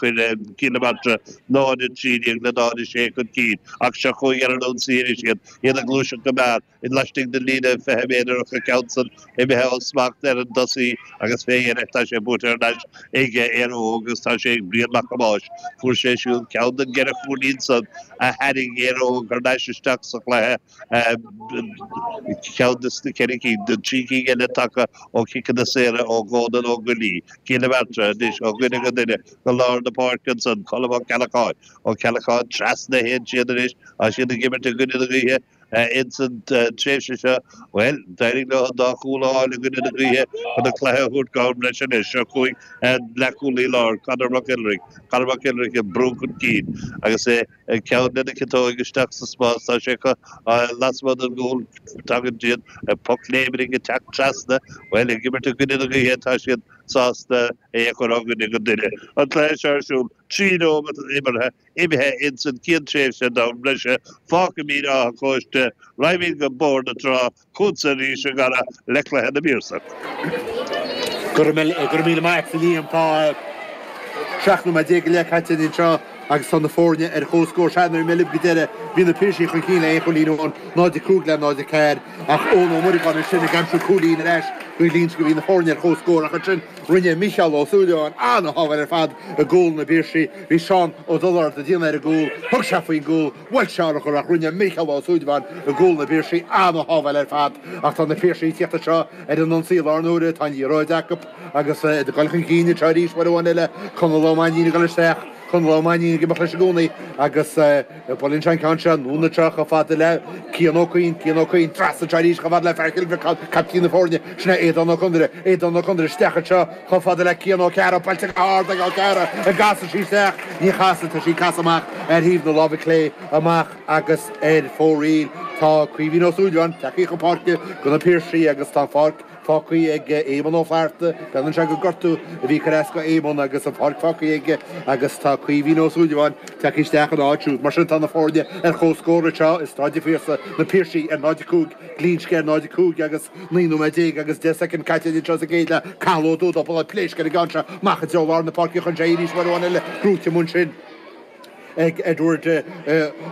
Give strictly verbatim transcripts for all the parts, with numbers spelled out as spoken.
Chuir Cill na Martra náid a trí déag le náid a sé chun cinn ach seo chugainn ar an ionsaí arís iad, iad ag gluaiseacht go mear laistigh den líne fiche méadar ach an ceann san imithe ó smacht ar an dtosaí agus fé dheireadh tá sé buaite thar n-ais ag Éire Óg agus tá sé ag Brian Mac Thomáis. Fuair sé siúd ceann den gceithre chúilín san a tharraing Éire Óg thar n-ais isteach sa chluiche, ceann de na ceithre cinn, na trí cinn eile tagtha ó chiceanna saora ó Dhónal Ó Goillí. Cill na Martra anois ó dhuine go duine go lár na páirce ansan, Colm Ó Ceallacháin. Ó Ceallacháin trasna a théann siad anois, tá siad ag imirt i gcoinne na gaoithe ins an tréimhse seo. Bhuel, d'éirigh leo an dá chúl a fháil i gcoinne na gaoithe chun an cluiche a thabhairt go am breise anois. Seo chugainn an leathchúlaí láir, Conor McIlwrick. Conor McIlwrick ag brú chun cinn agus é ag ceann lena chiotóig isteach sa spás. Tá sé acu lasmuigh den gcúl. Tagann siad poc léimnigh ag teacht trasna. Bhuel, ag imirt i gcoinne na gaoithe tá siad sásta é a chur ó dhuine go duine. An cluiche seo ar siúl trí nóiméad imeartha imithe ins an chéad tréimhse d'am breise. Fágfaimid Áth an Chóiste, raghaimid go Bóthar na Trá, chugatsa arís a Dhara le cluiche na bPiarsach. Go raibh míle maith agat a Liam. Tá seacht nóiméad déag go leith caite anseo agus tá na foirne ar comhscór. Sea, nuair a bhí mé libh go deireadh, bhí na Piarsaigh chun cinn le aon chúilín amháin, náid a cúig le náid a ceathair, ach Eoin Ó Muireagáin ansin ag aimsiú cúilín ar ais do Ghlinsce bhí na foirne ar comhscór ach ansin rinne Micheál Ó Súilleabháin an-shábháil ar fad i gcúl na bPiarsaigh. Bhí Seán Ó Dubhshláird ag déanamh ar an gcúl, thug sé faoin gcúl, bhuail sé urchar ach rinne Micheál Ó Súilleabháin i gcúl na bPiarsaigh an-shábháil ar fad. Ach tá na Piarsaigh ag tíocht anseo ar an ionsaí i lár na huaire, tá an liathróid acu agus iad ag dul chun cinn anseo arís uair amháin eile, Conall Ó Mainnín ag dul isteach. Conall Ó Mainnín ag imeacht leis i gcónaí agus buaileann sé an ceann seo anonn anseo chomh fada le Cian Ó Cuinn, Cian Ó Cuinn trasna anseo arís chomh fada le fear Chill Bhriocáin, caiptín na foirne, sin é Aodán Ó Conaire, Aodán Ó Conaire isteach anseo chomh fada le Cian Ó Cearra, buailte go hard ag Ó Cearra, an gcasfaidh sí isteach? Ní chasfaidh, tá sí ag casadh amach ar thaobh na láimhe clé amach agus ar fóraoil. Tá Caoimhín Ó Súilleabháin tagtha chun páirce do na Piarsaigh agus tá an pháirc fágtha ag Éamonn Ó Flatharta. Breathnaíonn sé gur gortú a bhí ag cur as do Éamonn agus an pháirc fágtha aige agus tá Caoimhín Ó Súilleabháin tagtha isteach ina áit siúd. Mar sin tá na foirne ar comhscór anseo i Staid an Phiarsaigh, na Piarsaigh ar náid a cúig, Glinsce ar náid a cúig agus naoi nóiméad déag agus deich soicind caite anseo sa gcéad leath. Cathal Ó Dúda, buille pléisc ar an gceann seo amach i dtreo lár na páirce chun sé arís uair amháin eile gnóite amuigh ansin. ag Edward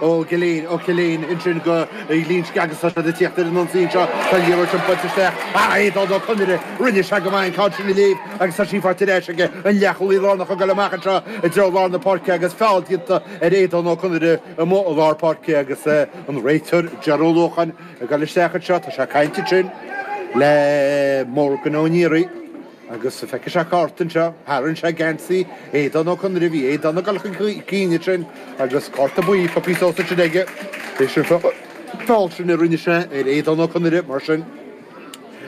Ó Giolláin, Ó Ciolláin ansin do Ghlinsce agus tá siad ag tíocht ar an ionsaí anseo. Tá an liathróid sin buailte isteach. Ah, Aodán Ó Conaire, rinne sé go maith an ceann sin a léamh agus tá sí faighte ar ais aige. An leathchúlaí lárnach ag dul amach anseo i dtreo lár na páirce agus feall déanta ar Aodán Ó Conaire amuigh i lár páirce agus an réiteoir Ger Ó Luacháin ag dul isteach anseo. Tá sé ag caint ansin le Morgan Ó Niaraigh. Agus feicfidh sé cárta anseo, tharraing sé geansaí Aodán Ó Conaire, bhí Aodán ag dul chun cinn ansin agus cárta buí pioctha suas ansin aige, leis an feall sin a rinne sé ar Aodán Ó Conaire, mar sin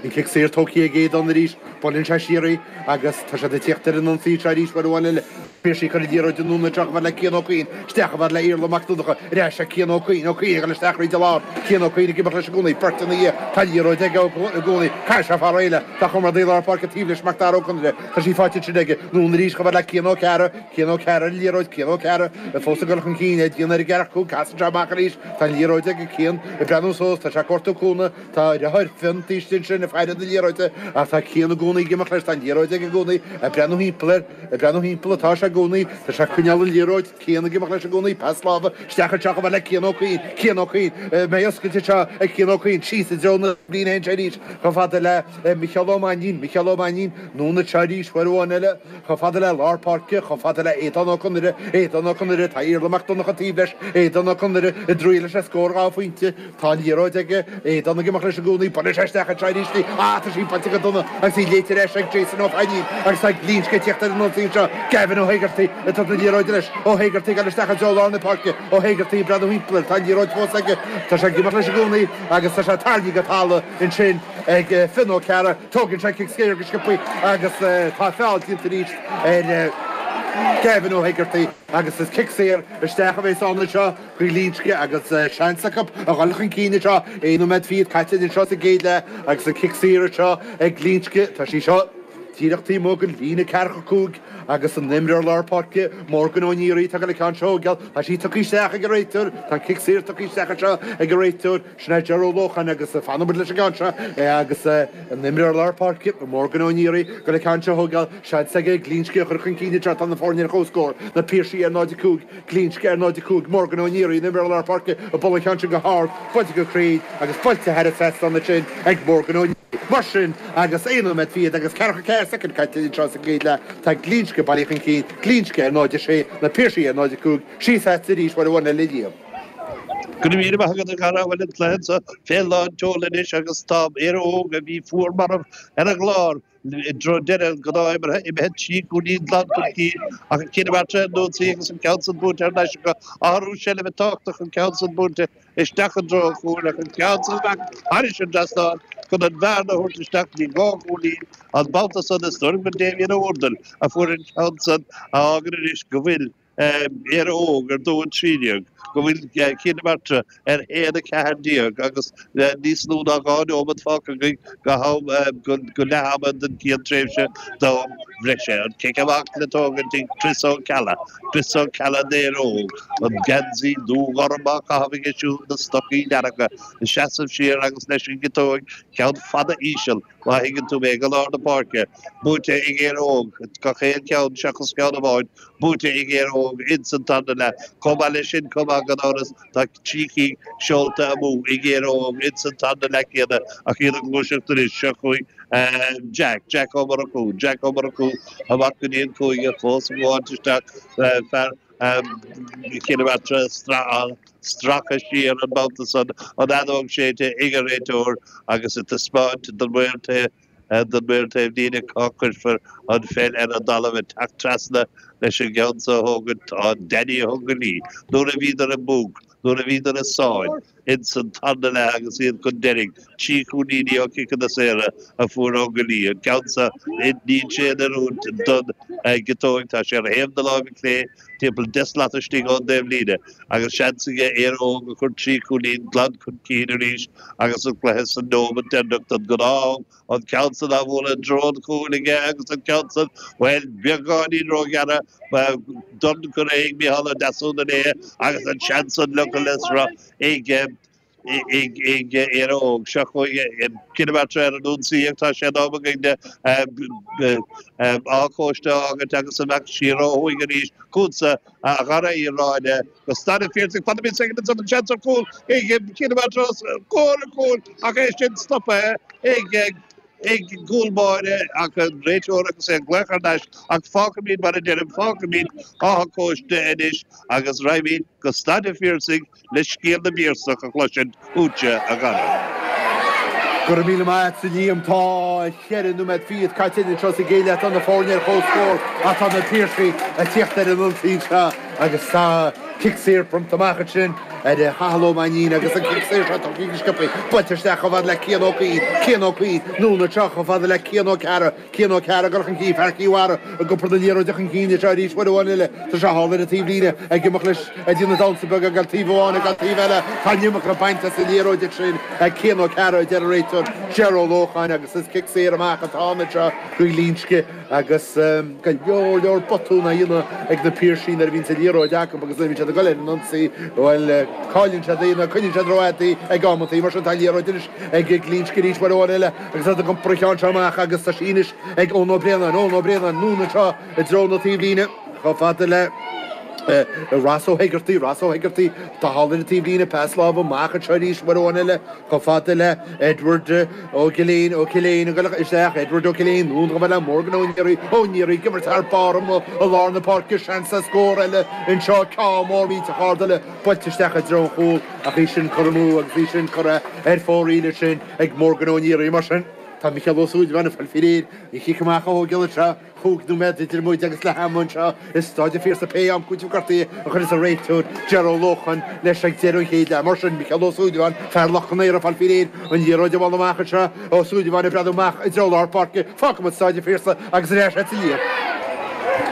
an cic saor tógtha ag Aodán arís, buaileann sé siar í agus tá siad ag tíocht ar an ionsaí seo arís uair amháin eile. Piarsaigh ag cur an liathróid anonn anseo chomh fada le Cian Ó Cuinn, isteach chomh fada le Iarla Mac Donncha, ar ais ag Cian Ó Cuinn, Ó Cuinn ag dul isteach thríd an lár, Cian Ó Cuinn ag imeacht leis i gcónaí, beirt ina dhiaidh, tá an liathróid aige i gcónaí, caithfidh sé fara éile, tá comrádaí lár páirce taobh leis, Mac Dara Ó Conaire, tá sí faighte ansin aige, anonn arís chomh fada le Cian Ó Cearra, Cian Ó Cearra ar an liathróid, Cian Ó Cearra fós ag dul chun cinn, é ag déanamh ar an gceathracha cúig, casann sé amach arís, tá an liathróid aige, Cian ag breathnú suas, tá sé ag cuartú cúnamh, tá a dheartháir Fionn taobh istigh ansin ag faire na liathróide ach tá Cian i gcónaí ag imeacht leis, tá an liathróid aige i gcónaí, ag breathnú thimpeall air. Ag breathnú thimpeall atá sé i gcónaí. Tá sé ag coinneáil an liathróid. Cian ag imeacht leis i gcónaí. Pas láimhe isteach anseo chomh fada le Cian Ó Cuinn. Cian Ó Cuinn. Mbeidh oscailt anseo ag Cian Ó Cuinn. Síos i dtreo na líne anseo arís chomh fada le Micheál Ó Mainnín. Micheál Ó Mainnín. Anonn anseo arís uair amháin eile chomh fada le lár páirce, chomh fada le Aodán Ó Conaire. Aodán Ó Conaire. Tá Iarla Mac Donncha taobh leis. Aodán Ó Conaire i dtriail leis le scór dhá phointe. Tá an liathróid aige, Aodán ag imeacht leis i gcónaí, buaileann sé isteach anseo arís í, ah tá sí buailte go dona agus í léite ar ais ag Jason Ó Fainín agus tá Glinsce ag tíocht ar an ionsaí anseo, Gavin Ó hÉigeartaigh ag tabhairt na liathróide leis, Ó hÉigeartaigh ag dul isteach i dtreo lár na páirce, Ó hÉigeartaigh ag breathnú thimpeall air, tá an liathróid fós aige, tá sé ag imeacht leis i gcónaí agus tá sé tarraingthe go talamh ansin ag Fionn Ó Cearra, tógann sé cic saor go sciobtha agus tá feall déanta arís ar Gavin Ó hÉigeartaigh agus is cic saor isteach a bheas ann anseo. Do Ghlinsce agus seans acu a dhul chun cinn anseo. Aon nóiméad fichead caite anseo sa gcéad leath agus an cic saor anseo ag Glinsce. Tá sí seo díreach taobh amuigh den líne ceathracha cúig agus an imreoir lár páirce Morgan Ó Néaraí atá le ceann seo a thógáil. Tá sí tugtha isteach ag an réiteoir, tá an cic saor tugtha isteach anseo ag an réiteoir, sin é Ger Ó Lócháin agus fanfaidh muid leis an gceann seo agus an imreoir lár páirce Morgan Ó Néaraí ag le ceann seo a thógáil. Seans aige Glinsce a chur chun cinn anseo, tá na foirne ar comhscór, na Piarsaigh ar náid a cúig, Glinsce ar náid a cúig, Morgan Ó Néaraí, an imreoir lár páirce ag bualadh an cheann sin go hard, buailte go cruinn agus buailte thar an trasnán ansin ag Morgan Ó Néaraí. Mar sin, agus aon nóiméad fichead agus ceathracha ceathair soicind caite anseo sa gcéad leath, tá Glinsce bailithe chun cinn, Glinsce ar náid a sé, na Piarsaigh ar náid a cúig, síos agatsa arís uair amháin eile a Liam. Go raibh míle maith agat a Dhara, bhuel an cluiche seo fé lán tseoil anois agus tá Éire Óg a bhí fuar marbh ar an gclár i dtreo deireadh an ghnáth-imeartha imithe trí chúilín glan chun cinn ach an Cill Mhartra ar an ionsaí agus an ceann san buaite thar n-ais acu. Athrú seilbhe tábhachtach an ceann san buaite isteach i dtreo an chúil ach an ceann san amach thairis an dtrasnán chun an bhearna a thabhairt isteach go dtí dhá chúilín an babhta san is dóigh liom gur Damien Ó hUrdail a fuair an ceann san a fhágann anois go bhfuil Éire Óg ar dó a trí déag, go bhfuil Cill na Martra ar haon a ceathair déag agus níos lú ná dhá neomat fágtha againn go ham go leath ama den chéad tréimhse d'am bhreise. An cic amach le tógaint ag Chris Ó Ceallaigh, Chris Ó Ceallaigh d'Éire Óg, an geansaí dúghorm á chaitheamh aige siúd, na stocaí dearga, ag seasamh siar agus leis an gciotóig, ceann fada íseal, má thuigeann tú mé, go lár na páirce, buaite ag Éire Óg, gach aon cheann seachas ceann amháin, buaite ag Éire Óg ins an tarna leath. Chomh maith leis sin, chomh maith gan amhras, tá trí chic seolta amú ag Éire Óg ins an tarna leath céanna ach iad ag gluaiseacht anois. Seo chugainn Jack, Jack Ó Murchú, Jack Ó Murchú amach go dtí an cúinne, fós ag gabháilt isteach, fear Chill na Martra stracadh siar an babhta san, an fheadóg séidte ag an réiteoir agus ag taispeáint don mhaor don mhaor taobh líne cá cuirfear an pheil ar an dtalamh ag teacht trasna leis an gceann so a thógaint. Tá Danny Ó Conghaile nuair a bhíodar i mbunc, nuair a bhíodar i sáinn ins an tarna leath agus iad chun deiridh, trí chúilíní ó chiceanna saora a fuair Ó Conghaile. An ceann so, níl sé in oiriúint don gciotóig, tá sé ar thaobh na láimhe clé, timpeall deich slat istigh ón dtaobhlíne, agus seans aige Éire Óg a chur trí chúilín glan chun cinn arís agus an cluiche sa nóiméad deireanach den ghnáth-am, an ceann san á bhualadh i dtreo an chúil aige agus an ceann san, bhuel, beagáinín róghearrtha, dorn curtha ag Micheál Ó Deasúna léi agus an seans san leagtha le sruth ag ag Éire Óg. Seo chugainn Cill na Martra ar an ionsaí ach tá sé in am againn Áth Cóiste a fhágaint agus imeacht siar ó thuaidh arís chugatsa a Dhara Uí Ráinne go Staid an Phiarsaigh. Fanaimid soicind ansan an seans ar chúl ag Cill na Martra os comhair an chúil ach é sin stoptha ag ag cúl báire ach an réiteoir agus é ag glaoch thar n-ais ach fágfaimid mar a deirim, fágfaimid Áth Cóiste anois agus raghaimid go Staid an Phiarsaigh le scéal na bPiarsach a chloisint uaitse, a Dhara. Go raibh míle maith agat, a Liam. Tá ceithre nóiméad fichead caite anseo sa gcéad leath. Tá na foirne ar comhscór ach tá na Piarsaigh ag tíocht ar an ionsaí anseo agus tá cic saor bronnta amach ansin ar Chathal Ó Mainnín agus an cic saor seo tugtha go sciobtha buailte isteach chomh fada le Cian Ó Cuinn, Cian Ó Cuinn, anonn anseo chomh fada le Cian Ó Cearra, Cian Ó Cearra ag dul chun cinn, fear Chill Dara ag iompar na liathróide chun cinn anseo arís uair amháin eile. Tá sé thall ar an taobhlíne ag imeacht leis ag déanamh damhsa beag ag dul taobh amháin ag dul taobh eile. Tá an iomarca bainte as an liathróid ansin ag Cian Ó Cearra a deir an réiteoir Ger Ó Lócháin agus is cic saor amach atá ann anseo do Ghlinsce agus go leor leor botún á dhéanamh ag na Piarsaigh nuair a bhíonn an liathróid acu agus nuair a bhíonn siad ag dul ar an ionsaí bhuel cailleann siad í nó coinníonn siad rófhada í ag amantaí mar sin tá an liathróid anois ag Glinsce arís uair amháin eile agus iad ag iompar an cheann seo amach agus tá sí anois ag Eoin Ó Braonáin, Eoin Ó Braonáin, anonn anseo i dtreo na taobhlíne chomh fada le Ross Ó hEigeartaigh, Ross Ó hEigeartaigh, tá thall ar an taobhlíne, pas láimhe amach anseo arís uair amháin eile chomh fada le Edward Ó Ciléin, Ó Ciléin ag dul isteach, Edward Ó Ciléin, anonn chomh fada le Morgan Ó Néaraí, Ó Néaraí ag imirt thar barr amuigh i lár na páirce, seans ar scór eile anseo, ceann mór millteach ard eile buailte isteach i dtreo an chúil ach í sin curtha amú agus í sin curtha ar fóraoil ansin ag Morgan Ó Néaraí. Mar sin, tá Micheál Ó Súilleabháin ag fáil faoi réir an chic amach a thógáil anseo. Cúig nóiméad idir muid agus leath ama anseo i Staid an Phiarsaigh pé am cúiteamh gortaithe a chuirfeas an réiteoir Ger Ó Lócháin leis ag deireadh an chéad leath. Mar sin, Micheál Ó Súilleabháin, fear Loch an Iúir ag fáil faoi réir an liathróid a bhualadh amach anseo. Ó Súilleabháin ag breathnú amach i dtreo lár páirce. Fágfaimid Staid an Phiarsaigh agus ar ais agat a Liam.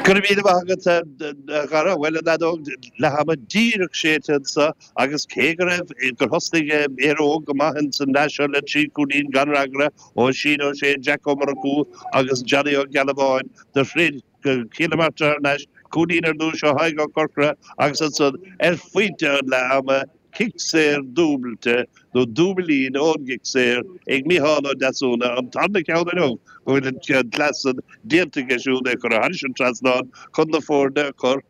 Go raibh míle maith agat, a Dhara. Bhuel, an fheadóg leath ama díreach séidte anseo agus cé go raibh, gur thosnaigh Éire Óg go maith ins an leath seo le trí chúilín gan fhreagra, Oisín Ó Sé, Jack Ó Murchú agus Johnny Ó Gealbháin do throid go Cill na Martra thar n-ais, cúilín ar dtús ó Thadhg Ó Corcora agus ansan ar phointe an leath ama, cic saor dúbailte nó dúbailín ón gcic saor ag Micheál Ó Deasúna, an tarna ceann inniu go bhfuil an cleas san déanta aige siúd é a chur thairis an trasnán chun na foirne a chur